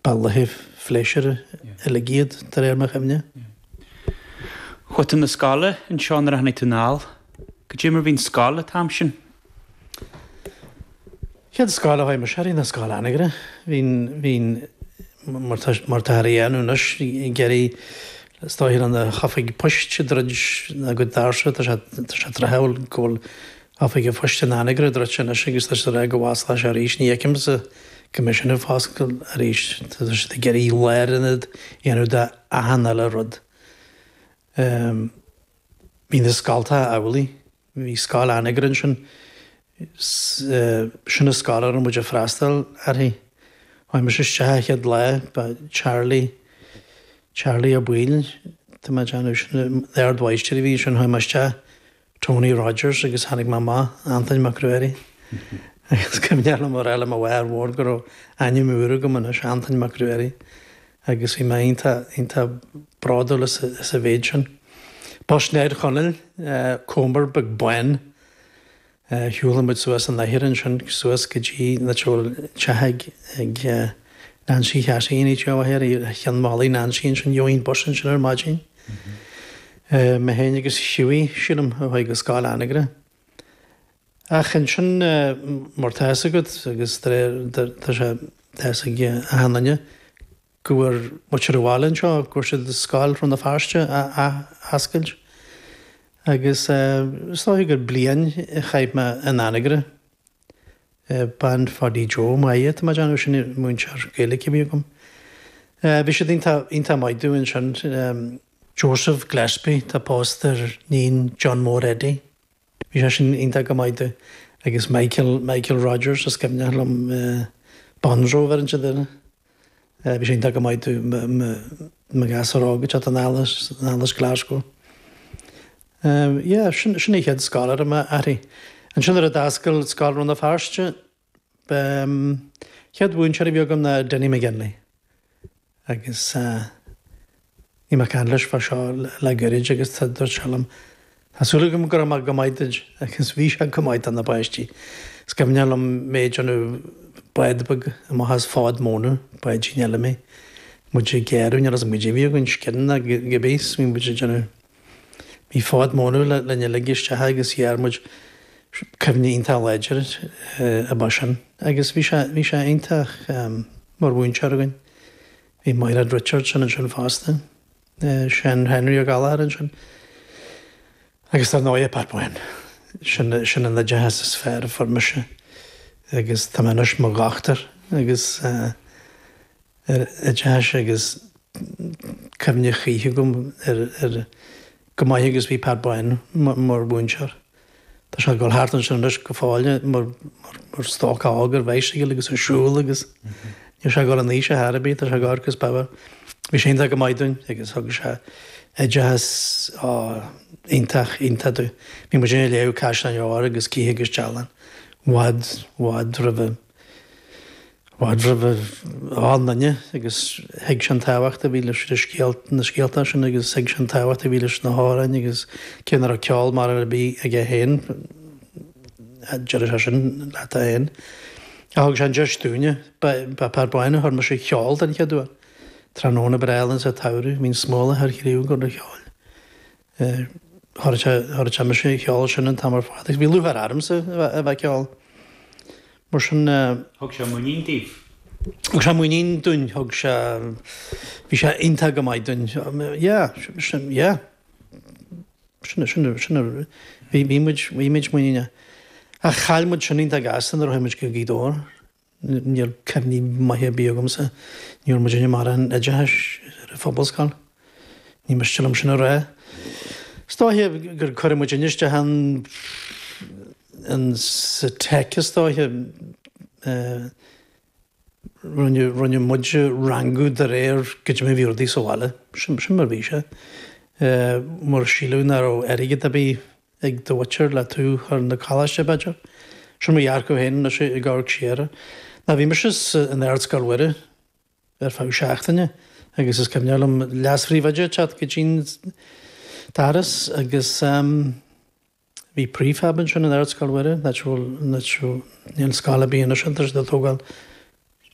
Ba laethe phléisiúir uilig iad, de réir mo chuimhne. Chuaigh tú 'na scoile anseo nuair a tháinig tú anall. Goidé mar bhí an scoil an t-am sin? Chéad scoil a chuaigh mise uirthi ná Scoil Anagaire. Bhí, bhí, mar tá, mar táthar a dhéanamh anois, ag iarraidh, is dóiche le na hoifig poist ag druid a gcuid doirse, tá sé, tá sé tráthúil go bhfuil oifig an phoist in Anagaire druidte anois agus tá siad ag rá go bhfosclóidh sé arís, ní fheicimse go mbeidh sin ag foscailt arís, tá siad ag iarraidh lárionad a dhéanamh de achan uile rud. Bhí na scoltacha amhlaidh, bhí Scoil Anagaire ansin, sin an scoil a raibh muid ag freastal uirthi. Chuaigh mise isteach an chéad lá, ba Charlie, Charlie Ó Baoill, tá mé ag déanamh, sin an t-ardmháistir a bhí ansin, chuaigh mé isteach, Tony Rogers agus tháinig mé amach, Antoin Mac Ruairí. Agus cuimhneach liom a rá le mo mháthair mhór go raibh ainm úr agam anois, Antoin Mac Ruairí. Agus bhí mé iontach, iontach bródúil as an mhéid sin. Bus Ned Chonaill, Comer beag bán. Shiúladh muid suas an oighear ansin, suas go dtí an áit a bhfuil teach ag Nancy Chassie in áit ar cheann mhullaigh Nancy ansin, gheobhainn bus ansin ar maidin. Mé féin agus Hughie, sílim, a chuaigh go Scoil Anagaire. Ach ansin, mar tá fhios agat, agus de réir, tá sé, tá fhios ag achan duine, go bhfuair muintir an bhaile anseo, go bhfuair siad Scoil Rann na Feirste a athoscailt. Agus is dóiche gur bliain a chaith mé in Anagaire. Bean Pháidí Joe, Máire, tá mé ag déanamh, sin an múinteoir Gaeilge a bhí agam. Bhí siad iontach, iontach maith dúinn ansin. Joseph Gillespie, tá pósta ar níon John Mór Eddie. Bhí sé sin iontach go maith dúinn. Agus Michael, Michael Rogers, is cuimhneach liom Bonzo a bheireann siad air. Bhí sé iontach go maith dúinn, mo ghasúr óg ag teacht anall as, anall as Glasgow. Yeah, sin, sin an chéad scoil a raibh mé uirthi. Ansin nuair a d'oscail Scoil Rann na Feirste, chéad mhúinteoir a bhí agam ná Denny McGinley. Agus bhí mé ag caint leis fá seo le gairid agus dúirt sé liom, Tá súil agam go raibh mé go maith duit agus bhí sé go maith do na páistí. Is cuimhneach liom mé ag déanamh bád beag amach as fód móna, báidín eile mé, muid ag gearradh, níl a fhios agam goidé a bhí againn, scian nó cibé, is bhí muid ag déanamh, bhí fód móna linn uilig isteach agus ghearr muid, cuimhne iontach láidir ab ea sin. Agus bhí sé, bhí sé iontach mar mhúinteoir againn. Bhí Mairéad Richardson ansin fosta, Seán Henry Ó Gallchóir ansin agus dar ndóighe Pat Bán. Sin, sin an oideachas is fearr a fuair mise agus tá mé anois mo dhochtúir agus ar oideachas agus cuimhne choíche agam ar, ar chomh maith agus bhí Pat Bán mar mhúinteoir. Tá sé ag dul thart ansin anois go fóill mar stócach óg ar bhicycle agus ag siúl agus níl sé ag dul in aois ar chor ar bith, tá sé ag amharc as beabhar. Bhí sé iontach go maith dúinn agus thug sé oideachas iontach, iontach dúinn. Bhí muid ag léamh Caisleán Óir agus Cith agus Dealán i bhfad, i bhfad roimhe. bhfad roimh achan duine agus thuig sé an tábhacht a bhí leis na scéalta, na scéalta sin agus thuig sé an tábhacht a bhí leis na hamhráin agus cé nach raibh ceol mar ar bith aige féin, deireadh sé sin leat é féin. Ach thug sé an deis dúinne, ba Pat Bán a chuir mise ag ceol den chéad uair. Tráthnóna breá álainn sa tsamhradh, bhí an smólach ar chriú ag dul a cheoil. Chuir sé mise ag ceol sin an t-am ar fad agus bhí lúcháir ormsa a bheith ag ceol. Mar sin. Thug sé muinín daoibh? Thug sé muinín dúinn, thug sé, bhí sé iontach go maith dúinn. Yeah, sin, yeah. Sin, sin, sin, bhí, bhí muid, bhí muid muiníneach. Ach chaill muid sin iontach gasta nuair a chuaigh muid go Gaoth Dobhair. Níl cuimhní maithe ar bith agamsa. Ní raibh muidinne mórán oideachais ar an phobalscoil. Ní miste liom sin a rá. Is dóiche gur cuireadh muidinne isteach ann in sa Tech is dóiche. Rinne rinne muid rangú de réir goidé mar a bhí rudaí sa bhaile. Sin sin mar a bhí sé. Mar síleadh nach raibh airgead ar bith ag do mhuintir le tú chur 'na coláiste, b'fhéidir. Sin mo dhearcadh féin anois ag amharc siar. Ná bhí mise in Ardscoil Mhuire ar feadh seachtaine agus is cuimhneach liom leas-phríomhoide ag teacht go dtí'n doras agus bhí prefab ansin in Ardscoil Mhuire, níl scoil ar bith anois ann, tá siad ag tógáil.